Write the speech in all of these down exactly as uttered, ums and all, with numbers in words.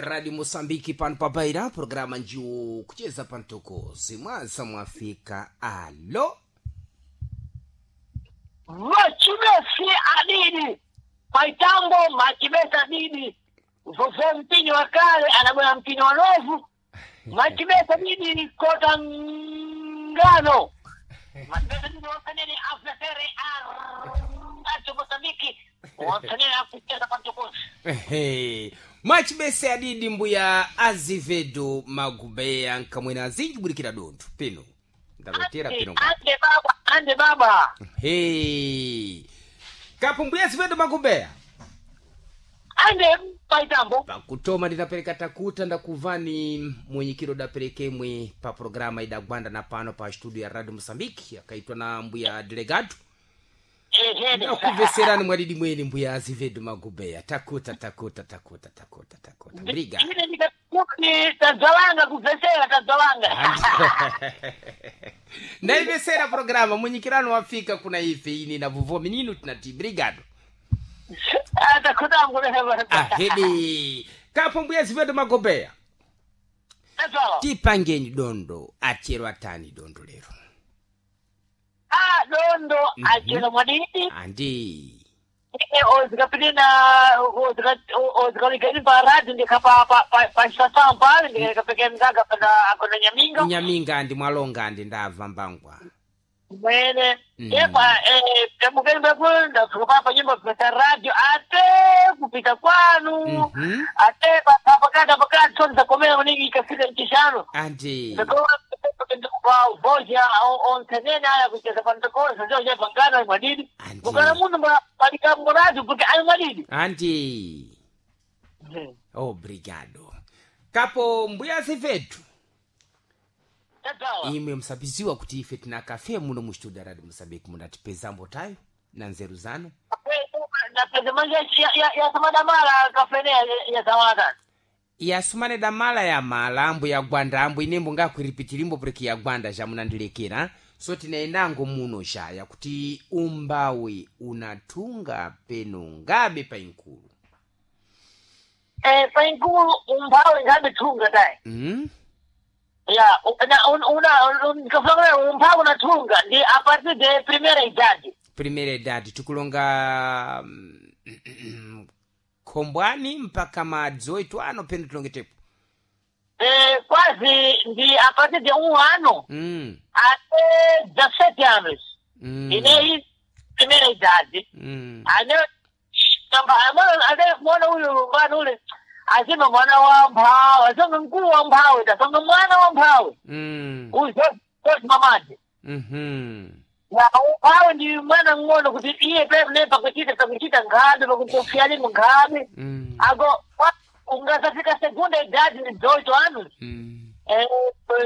Radio Moçambique pano pabaira programa njiwo kucheza pantokozi mwaza mwafika alo Machibesi adidi maitambo machibesi adidi vovo mpinyo wa kale anabona mpinyo wa novu machibesi adidi kota ngano machibesi adidi wakanene aflasere acho Mozambiki wakanene akucheza pantokozi. Ehe. Mwachibese adidi mbuya Azevedo Magubeya nkamwena azinji bulikira dontho pino ndalotera pino nga ande baba ande baba Hey. Kapo mbuya Azevedo Magubeya ande maitambo pakutoma ndinapereka takuta ndakuvani mwenyikiro daperekemwe pa programa idagwanda na pano pa studio ya Radio Mozambique akaitwa na mbuya delegado ehene ndakuveserani mwadidi mweni mbuya Azevedo Magubeya takuta takuta takuta takuta takuta briga ine ndikakuti tadzalanga kubvesera tadzalanga ndaivesera programa mwenyikirano wafika kuna ife ini na vuvo minino tinati brigado takutangu ahedi kapo mbuya Azevedo Magobeya tadzala tipangeni dondo achero atani dondo lero ah dondo achero mwadidi andi ozikapinina ozikalikeni pa radio ndikapa pa pale ndikapekea mzaga pana akona nyaminga nyaminga andi mwalonga andi ndabva mbangwa mwene Mm. epa tambukeni beku ndafika papa nyumba kupita radio ate kupita kwanu Mhm. ate pakati pakati so ndisakomera maningi ikafika mchishano andi voja onsenene aya kucheza pantokosa ndio chapangana mwadidi Andi. mukana munhu palikamboradio kuti ali mwadidi andi obrigado kapo mbuya Azevedo tadzawa imwe msabiziwa kuti ife tina kafe muno mu studio ya radio Mozambique mundatipezambo tayo na nzeru zanu napeza manje yasamadamala kafene yasamala yasumane damala ya mala ambo ya gwanda ambo inembo ngakwiripitirimbo pureki ya gwanda jamunandilekera so tinaendango muno xaya kuti umbawi unatunga peno ngabe painkulu eh painkulu umphawi ngabe thunga dai mm? ya una una nikafanga umphawi unathunga ndi a partir de primeira idade primeira idade tikulonga mm, khombwani mpaka madzi oito ano peno tilongetepo eh quase ndi a partir de um ano mm. até dezessete anos mm. ineyi primeira idade mm. ane tamba ane mwana uyu mwana ule azima mwana wa mphawi azima mkulu wa mphawi tasanga mwana wa mphawi mm. uyu mamadi mm-hmm. ya umphawi ndi mwana ng'ono kuti iye pene pakuchita pakuchita nkhabe pakukufyalimo nkhabe mm. ago ungasafika segunda idade ni dezoito anos mm. eh,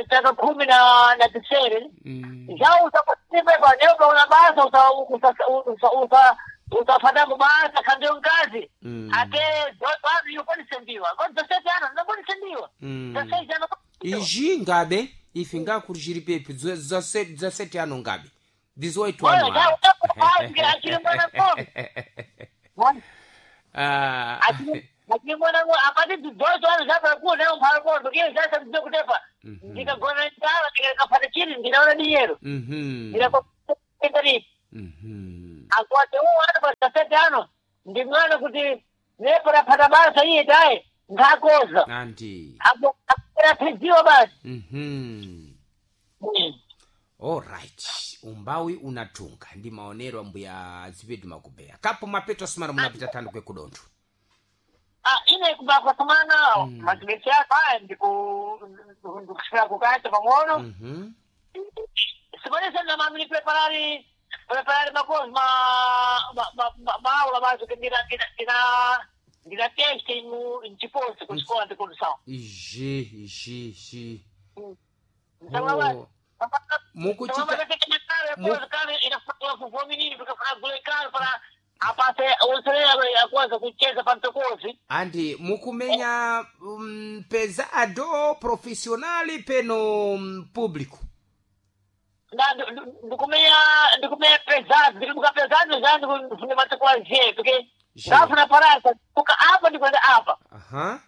taka khumi na na tisere mm. já usakusipepa neupa una basa usa usa usa usa usafadambo basa khandiyo nkazi Mm. ate dezoito anos yokonisendiwa ko dezessete anos nakonisendiwa Mm. dezesseis anos izvi ngabe ife ngakuruchiri pepi dzasete ano ngabe dezoito ano Olha, já achiri mwana ng'ono Ah. achiri mwana ng'ono apati dezoito anos zapakuu nayo mphala kondo kiyo sasa ndizokutepa ndikagona ndala ndikafata chiri ndinaona dinyero Mhm. ndinakoendaripi Mhm. akwate uwo ano pa dezessete ano ndi mwana kuti nepo raphata basa iye taye nkhakoza andi apo aphidziwa basi Mhm. alright umbawi unatunga ndi maonero ambuya Azevedo Magubeya kapo mapeto asumana munapita tando kwekudontho Ah, ine kubakwasumana machibesi ako aya ndiku ndikusvika kukacha pang'ono Mhm. sikonese namamini preparari preparari makozi ma ma- ma- ma- maula mazo ke ndina ndina ndina ndina teste mu mchiposi kuchikola ndikudusawo izhi izhi izhi Msangwa Oh. Mukuchita- Mu- akuanza kucheza pantokozi andi mukumenya um, pesado profissional peno mm, público na ndikumenya ndikumenya pesado ndikubuka pesado já ndikufuna matokozi porque Je. ndafuna parasa kuka apa ndikwenda apa aha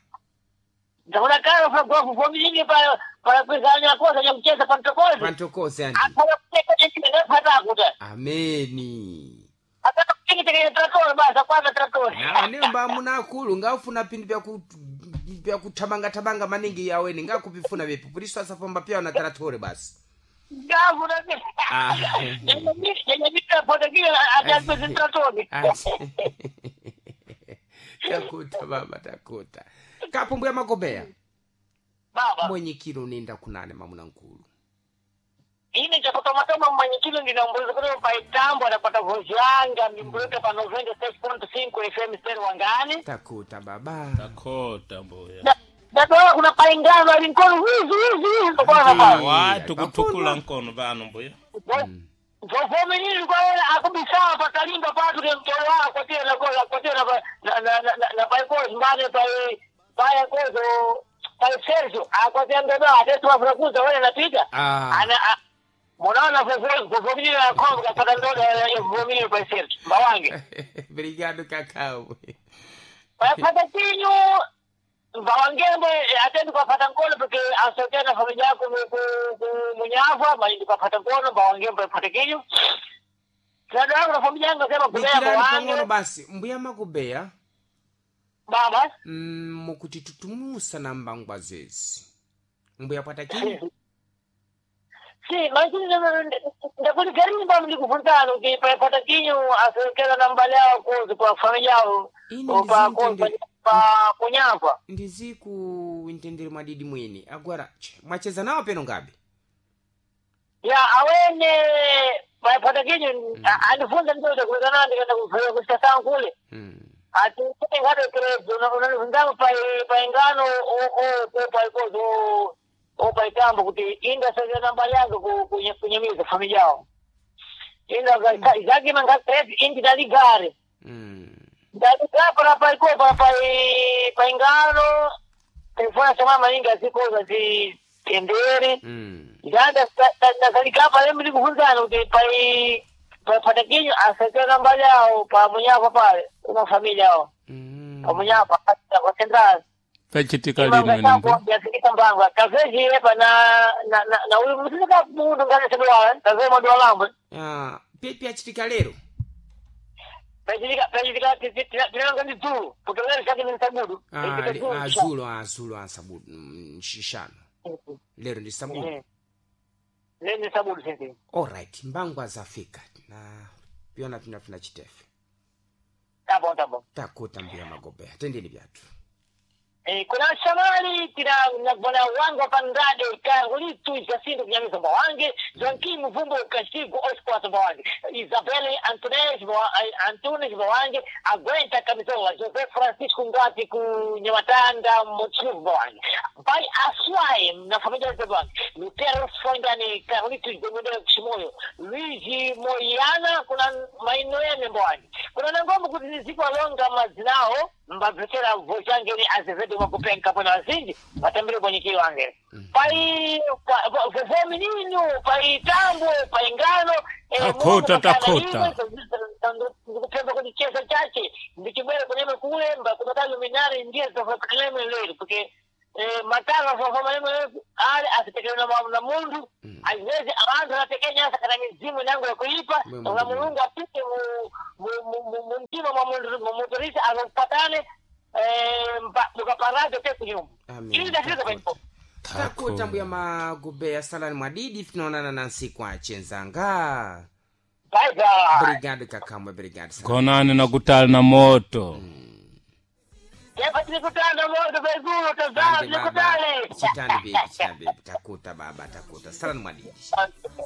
Ndakuna kala fa gofu vomilingi pa pa kwizanya kosa ya kucheza pa mtokozi. Pantokoze andi. Akala kuteka chini pata kuta. Ameni. Akala kutingi teke traktor basa kwanza traktor. Na nemba munakulu ngaufuna pindu byaku byakuthamanga-thamanga maningi yaweni ngakupifuna vipi puliso asafamba pya na taratore basi. Ngafu na. Ah. Yenye mita pota kile atakweza traktor. Ati. Takuta baba takuta kapo mbuya magobeya. Baba. Mwenyekiro nenda kunane mamuna nkulu. Ine chakutomatoma mwenyekiro ndinambuliza kuti paitambo anapata vozhanga mimbulike pa noventa e seis ponto cinco F M Stereo Wangani. Takuta baba. Takhota mbuya. Ndatola kuna paingano ali nkono wizi wizi wizi kwanza pa. Watu kutukula nkono vano mbuya. Vovomenini kwa wela akubisawa pakalimba patu ke mtolo wako kwatia na koza kwatia na na na na na paikozi mbane pai pai kozo pai Sergio akwatia ndodo atetu afrakuza wale napita. Ah. Ana a- munaona vovomenini na kongo kapata ndodo ya vovomenini pai Sergio mbawange. Obrigado kakao. Pata kinyu mbawangembe atendi kwapata nkono porque asotea na familia yako mu- ku- ku- munyava malindi kwapata nkono mbawangembe pata kinyu. Tadwangu na familia yangu sema kulea Dikirani mbawange. pang'ono basi mbuya magobeya. Baba. Mm, mukuti tutumusa na mbangwa zezi mbuya pata kinyu. Si, lakini ndakuligarini ba ndikuvunzana kuti pata kinyu asokela na mbali yao kuzi kwa familia yao Ine pa ndizintende- pa kunyava. Ndiziku ntendere mwadidi mwini agora che, mwacheza nawo peno ngabe. Ya awene pata kinyu andifunza ndoto kulekana ndikaenda kufanya kusasa kule. Mm. Ati ngado krezo unanivunzana pa pa ingano o o o pa kozo o pa itambo kuti inda sasa na mbali yangu ku kunyamiza familia yao. Inda zake manga krezo indi daligare. Mm. Ndalika para paiko para pai paingano telefona chama maningi azikoza zi tendere. Mm. Ndanda ndazalika pale mimi kufunzana kuti pai pa patakinyo asakana mbali yao pa munyapa pale una familia yao Mm. pa munyapa kwa central. Pachitika lino ine mbuya. Yafikisa mbangwa kaveji yepa na na na na uyu msika mundu ngane sebwa kaveji mwandu walambo. Ah, pipi achitika lero. Pachitika pachitika tinanga ndi dzulo kutolera chake ni sabudu. Ah, li- ah, zulo ah, zulo ah, sabudu mm, shishano lero ndi sabudu. Leni sabudu sisi. Alright mbangwa zafika na pyona tinafuna chitefe. Tabo tabo. Takuta mbuya magobeya tendeni byatu. Eh, kuna shamali tina na bwana wangu pandade kangulitu jacinto kunyamiza mbawange Joaquim Mvumbo Kashigo Oscar mbawange Isabelle Antunes Mba- Antunes mbawange Aguenta Camisola José Francisco Ngati ku Nyamatanda Mochivu mbawange Pai Aswai na familia yote mbawange Lutero Fondani Carlitos Domingos Chimoyo Luigi Moyana kuna mainoene mbawange kuna nangombo kuti niziko alonga mazinao mbabvekera vochangeni azevedo makupenka pano azinji vatambire kwenyikiri wange pai vovomininu pai tambo pai ngano eh, Takhota, Mungu kakana takhota. imwe, ndikupemba kuti chesa chache ndichibwere kuneme kule mbakumata luminari ndiye zofakaleme lero porque eh, matara zofamaleme ale asitekele na na mundu aziwezi abantu anatekenya kana mizimu nango ya kuipa Mwe na Mungu. mulungu apite mu mu- mu- mu- mu mtima mwa mundu mumuturisa akupatane eh, mpa- mukaparazo te kunyumba Amen. ili ndafika paipo Takuta mbuya magobeya salani mwadidi tinaonana na nsiku achenzanga. Bye bye. Obrigado kakamwe obrigado sana. Gonani na kutali na moto. Kepa tilikutana moto pezulu tazama Ande baba tilikutane. chitani bibi chitani bibi takuta baba takuta salani mwadidi.